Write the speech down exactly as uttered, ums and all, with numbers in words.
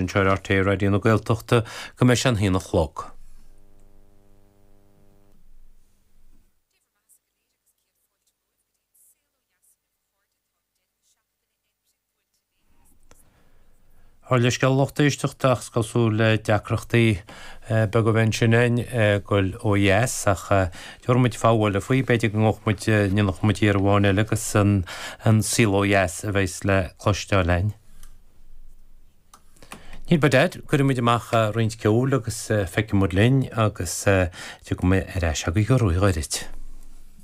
Anseo ar R T É Raidió na Gaeltachta go mbeidh sé an haon a chlog. Ár leithscéal, lucht éisteachta, ach is cosúil le deacrachtaí beaga a bheith ansin againn ag goil ó dheas, ach tabharfaidh muid fogha eile faoi, b'fhéidir go ngabhfaidh muid, ndéanfaidh muid iarraidh amháin eile agus an saol ó dheas a bheas le cloisteáil againn. Níl by dad, cuirfidh muid amach roinnt ceoil agus feicfidh muid linn agus tiocfaidh mé ar ais agaibh go róghairid.